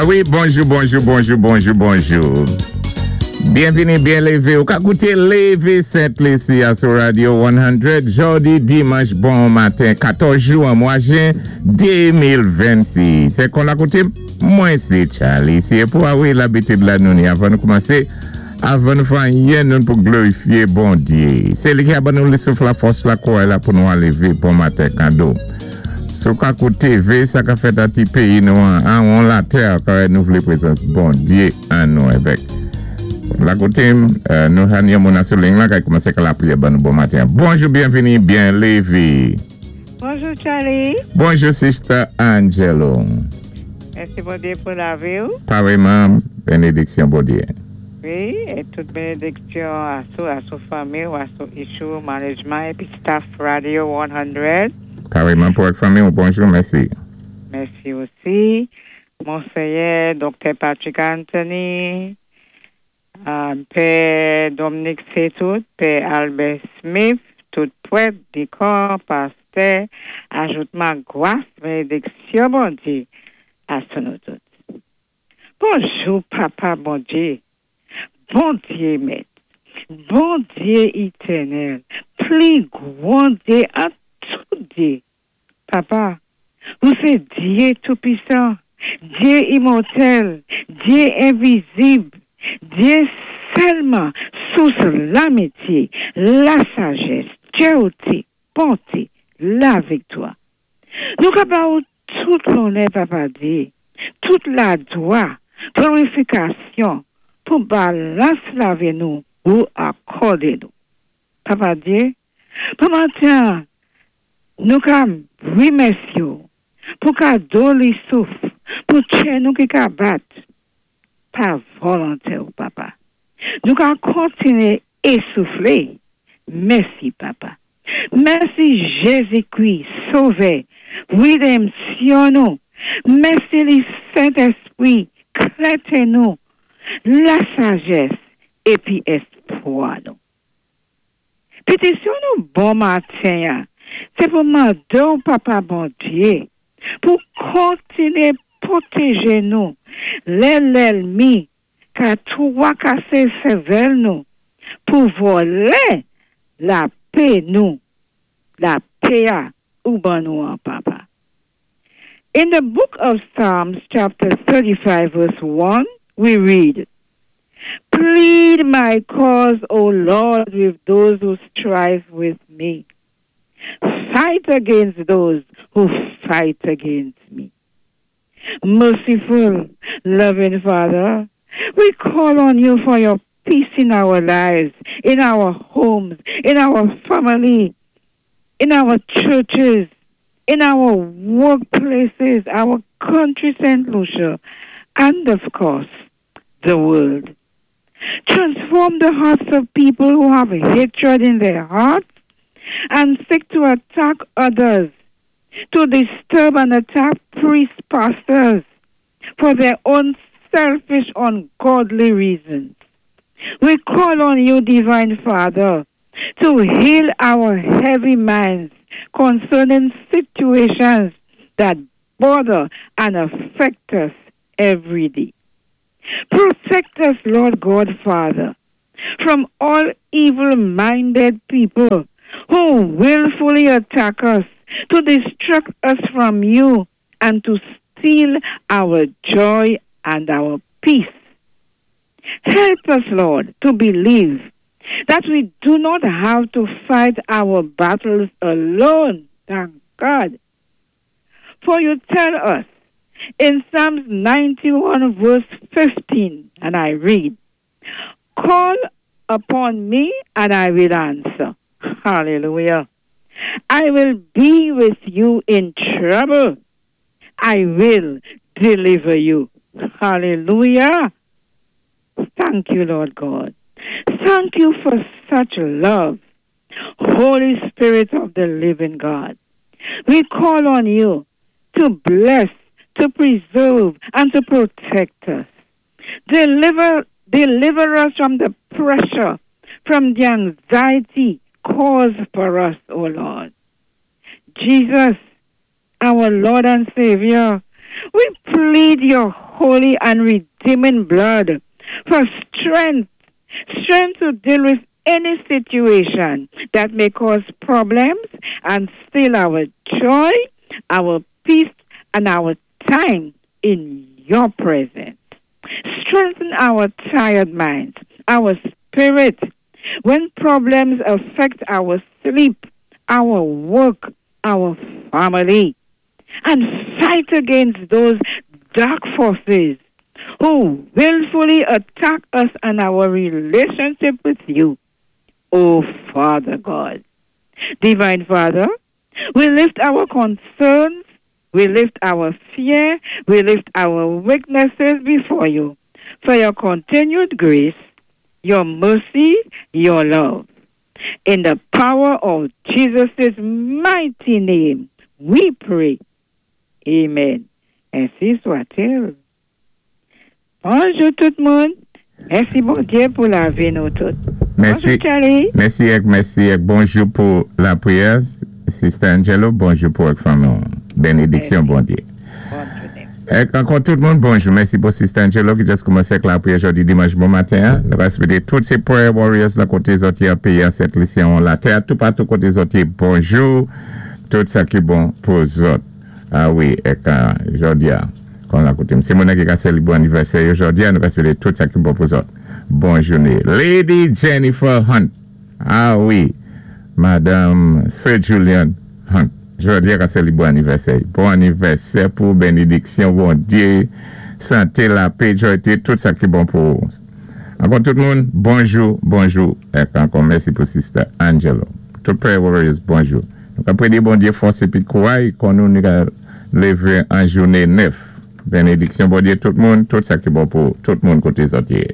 Wi, bonjou, bonjou, bonjou, bonjou, bonjou. Byenvini, byen lévé. Ou ka kouté Lévé Sent Lisi a sou Radio 100 jòdi dimanch bon maten 14 jou an mwa jen 2026. Sé kon la koutim, mwen sé Charlie. Si pou a wi labitid la nou ni avan nou koumansé, avan nou fè anyen nou pou glorifié Bondyé. Sé li ki a ban nou souf la fòs la kouray la pou nou a lévé bon maten kado. Sou ka kouté vé sa ka fèt a ti péyi nou an, an latè, kay nou vlé prézans Bondyé an nou avèk. La koutim, nou han yon moun sou liy la kay koumansé ka lapriyè ban nou bon maten. Bonjou, byenvini, byen lévé. Bonjou Charlie. Bonjou Sister Angelo. Mèsi Bondyé pou lavi ou. Pareman, benediksyon Bondyé. Wi, é tout benediksyon a sou, a sou fanmi ou, a sou issue management épi staff Radio 100. Pareman pou ak fanmi ou, bonjou, mèsi. Mèsi osi. Monseyè Dr. Patrick Anthony, Pè Dominique Setout, Pè Albert Smith, tout prèt, dikon, pastè, ajoutman gwas, benediksyon Bondyé, a sou nou tout. Bonjou, Papa Bondyé, Bondyé mèt, Bondyé étènèl, pli gwan Dyé an tout Dyé. Papa, ou sé Dyé toupisan, Dyé imòtèl, Dyé envizib, Dyé sèlman sous lamityé, la sajès, djèwté, bonté, la viktwa. Nou ka ba ou tout lonè, Papa Dyé, tout laglwa, glorifikasyon pou balans lavi nou ou akòdé nou. Papa Dyé, pou maten, nou ka wimèsyé ou pou kado li souf, pou tchè nou ki ka bat, pa volonté ou, Papa. Nou ka kontiné ésouflé. Mèsi, Papa. Mèsi Jézi-Kris, Sovè, rédanmsyon nou. Mèsi li Sentespwi, klèté nou, la sajès épi espwa nou. Pétisyon nou bon maten, sé pou mandé ou Papa Bondyé, pou kontiné pwotéjé nou, lè lènmi ka twakasé sèvèl nou, pou vòlè lapè nou, lapè a ou ban nou an Papa. In the book of Psalms, chapter 35, verse 1, we read, "Plead my cause, O Lord, with those who strive with me. Fight against those who fight against me." Merciful, loving Father, we call on you for your peace in our lives, in our homes, in our family, in our churches, in our workplaces, our country, St. Lucia, and of course, the world. Transform the hearts of people who have hatred in their hearts and seek to attack others, to disturb and attack priests, pastors, for their own selfish, ungodly reasons. We call on you, Divine Father, to heal our heavy minds concerning situations that bother and affect us every day. Protect us, Lord God Father, from all evil minded people who willfully attack us, to distract us from you, and to steal our joy and our peace. Help us, Lord, to believe that we do not have to fight our battles alone. Thank God. For you tell us in Psalms 91, verse 15, and I read, "Call upon me and I will answer." Hallelujah. "I will be with you in trouble. I will deliver you." Hallelujah. Thank you, Lord God. Thank you for such love. Holy Spirit of the living God, we call on you to bless, to preserve, and to protect us. Deliver us from the pressure, from the anxiety caused for us, O Lord. Jesus, our Lord and Savior, we plead your holy and redeeming blood for strength, strength to deal with any situation that may cause problems and steal our joy, our peace, and our time in your presence. Strengthen our tired minds, our spirit, when problems affect our sleep, our work, our family, and fight against those dark forces who willfully attack us and our relationship with you, O Father God. Divine Father, we lift our concerns, we lift our fear, we lift our weaknesses before you for your continued grace, your mercy, your love. In the power of Jesus' mighty name, we pray. Amen. Ainsi soit-il. Bonjou tout moun. Mèsi Bondyé pou lavi nou tout. Mèsi. Bonjou Charlie. Mèsi èk mèsi èk bonjou pou lapriyè Sister Angelo bonjou pou èk fanmi w benediksyon Bondye. Bòn jounen. Èk ankò tout moun bonjou mèsi pou Sister Angelo ki just koumansé ak lapriyè jodi dimanch bon maten an nou va swete tout se prayer warriors lan kote zòt ye an peyi an Sent Lisi an latè a toupatou kote zòt ye bonjou tout sa ki bon pou zòt a wi èk jodi a kon la koute m se moun nan ki ka selebre anivèsè yo jodi a nou va swete tout sa ki bon pou zòt. Bon jouné Lady Jennifer Hunt ah wi Madanm Sir Julian Hunt jodi a ka selebre anivèsè bon anivèsè pou ou benediksyon Bondye santé lapé joyte tout sa ki bon pou ou ankò tout moun bonjou bonjou ek ankò mèsi pou sister Angelo tout prayer warriors bonjou nou ka prede Bondye fòs epi kouray kon nou nou ka leve an jouné 9. Benediksyon Bondye tout moun, tout sa ki bon pou tout moun kote zòt ye.